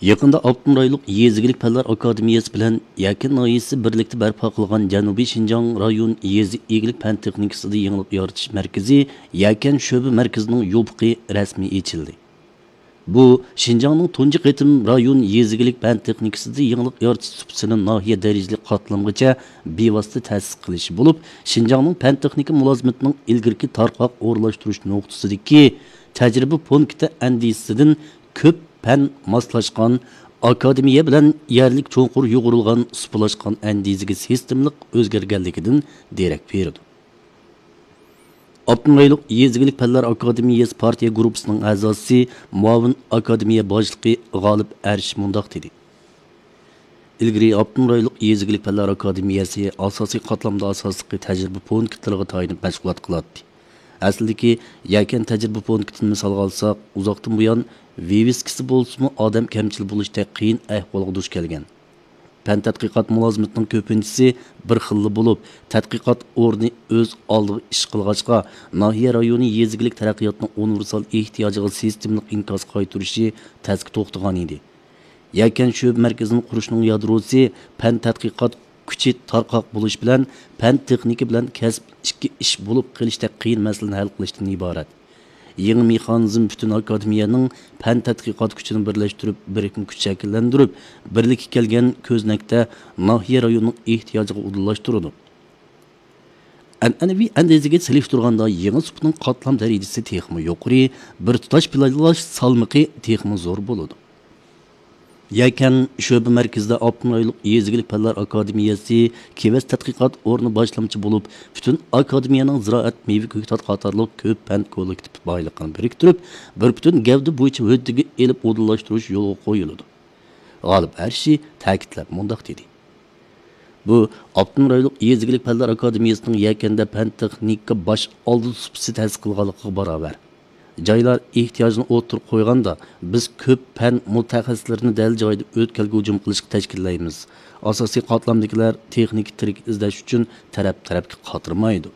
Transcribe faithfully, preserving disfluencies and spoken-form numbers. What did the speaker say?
يېقىندا ئاپتونوم رايونلۇق يېزا ئىگىلىك پەنلەر ئاكادېمىيەسى بىلەن يەكەن ناھىيەسى بىرلىكتە بەرپا قىلغان جەنۇبىي شىنجاڭ رايون يېزا ئىگىلىك پەن تېخنىكىسىدا يېڭىلىق يارىتىش مەركىزى يەكەن شۆبە مەركىزىنىڭ يوپۇقى رەسمىي ئېچىلدى. بۇ شىنجاڭنىڭ تۇنجى قېتىم رايون يېزا ئىگىلىك پەن تېخنىكىسىدا يېڭىلىق يارىتىش سۇپىسىنى ناھىيە دەرىجىلىك قاتلامغىچە بىۋاسىتە تەسىس قىلىشى بولۇپ، شىنجاڭنىڭ پەن تېخنىكا مۇلازىمىتىنىڭ ئىلگىرىكى تارقاق ئورۇنلاشتۇرۇش نۇقتىسىدىكى تەجرىبە پونكىتى ئەندىزىسىدىن كۆپ پەن ماسلاشقان، ئاكادېمىيە بىلەن يەرلىك چوڭقۇر يۇغۇرۇلغان سۇپىلاشقان ئەندىزىگە سىستېمىلىق ئۆزگەرگەنلىكىدىن دېرەك بېرىدۇ. ئاپتونوم رايونلۇق يېزا ئىگىلىك پەنلەر ئاكادېمىيەسى پارتىيە گۇرۇپپىسىنىڭ ئەزاسى، مۇئاۋىن ئاكادېمىيە باشلىقى غالىپ ئەرش مۇنداق دېدى: ئىلگىرى ئاپتونوم رايونلۇق يېزا ئىگىلىك پەنلەر ئاكادېمىيەسى ئاساسىي قاتلامدا ئاساسلىقى تەجرىبە پونكىتلىرىغا تايىنىپ مەشغۇلات قىلاتتى. ئەسلىدىكى يەكەن تەجرىبە پونكىتىنى مىسالغا ئالساق، ئۇزاقتىن بۇيان ۋىۋىسكىسى بولسىمۇ ئادەم كەمچىل بولۇشتەك قىيىن ئەھۋالغا دۇچ كەلگەن. پەن تەتقىقات مۇلازىمىتىنىڭ كۆپىنچىسى بىر خىللا بولۇپ، تەتقىقات ئورنى ئۆز ئالدىغا ئىش قىلغاچقا، ناھىيە رايونى يېزا ئىگىلىك تەرەققىياتىنىڭ ئۇنىۋېرسال ئېھتىياجىغا سىستېمىلىق ئىنكاس قايتۇرۇشى تەسكە توختىغانىدى. يەكەن شۆبە مەركىزىنىڭ قۇرۇشنىڭ يادروسى پەن تەتقىقات كۈچى تارقاق بولۇش بىلەن پەن تېخنىكا بىلەن كەسىپ ئىككى ئىش بولۇپ قېلىشتەك قىيىن مەسىلىنى ھەل قىلىشتىن ئىبارەت. يېڭى مېخانىزم پۈتۈن ئاكادېمىيەنىڭ پەن تەتقىقات كۈچىنى بىرلەشتۈرۈپ، بىرىكمە كۈچ شەكىللەندۈرۈپ، بىرلىككە كەلگەن كۆزنەكتە ناھىيە رايونىنىڭ ئېھتىياجىغا ئۇدۇللاشتۇرىدۇ. ئەنئەنىۋى ئەندىزىگە سېلىشتۇرغاندا يېڭى سۇپىنىڭ قاتلام دەرىجىسى تېخىمۇ يۇقىرى، بىر تۇتاش پىلانلاش سالمىقى تېخىمۇ زور بولىدۇ. يەكەن شۆبە مەركىزىدە ئاپتونوم رايونلۇق يېزا ئىگىلىك پەنلەر ئاكادېمىيەسى، كېۋەز تەتقىقات ئورنى باشلامچى بولۇپ، پۈتۈن ئاكادېمىيەنىڭ زىرائەت، مېۋە، كۆكتات قاتارلىق كۆپ پەن كوللېكتىپ بايلىقىنى بىرىكتۈرۈپ، بىر پۈتۈن گەۋدە بويىچە ھۆددىگە ئېلىپ ئۇدۇللاشتۇرۇش يولغا قويۇلىدۇ. غالىپ ئەرشى تەكىتلەپ مۇنداق دېدى: بۇ ئاپتونوم رايونلۇق يېزا ئىگىلىك پەنلەر ئاكادېمىيەسىنىڭ يەكەندە پەن تېخنىكا باش ئالدى سۇپىسى تەسىس قىلغانلىقىغا باراۋەر. جايلار ئېھتىياجنى ئوتتۇرىغا قويغاندا، بىز كۆپ پەن مۇتەخەسسىسلىرىنى دەل جايىدا ئۆتكەلگە ھۇجۇم قىلىشقا تەشكىللەيمىز. ئاساسىي قاتلامدىكىلەر تېخنىكا تىرىك ئىزدەش ئۈچۈن تەرەپ-تەرەپكە قاترىمايدۇ.